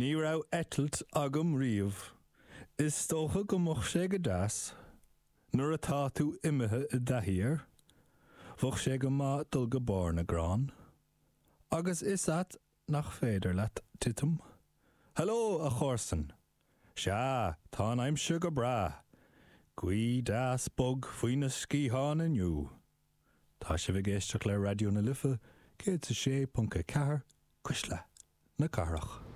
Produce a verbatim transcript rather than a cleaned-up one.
Ní raibh eitilt agam riamh. Is dócha go mbeadh sé go deas. Nuair atá tú imithe i dtaithí air, bheadh sé go maith dul go barr na gcrann. Agus is ait nach féidir leat titim. Hello a chomharsan. Sea, tá an aimsir go breá. Gaoth deas bog faoi na sciatháin inniu. Tá sibh ag éisteacht le Raidió na Life, céad a sé ponc a ceathair, Cuisle na Cathrach.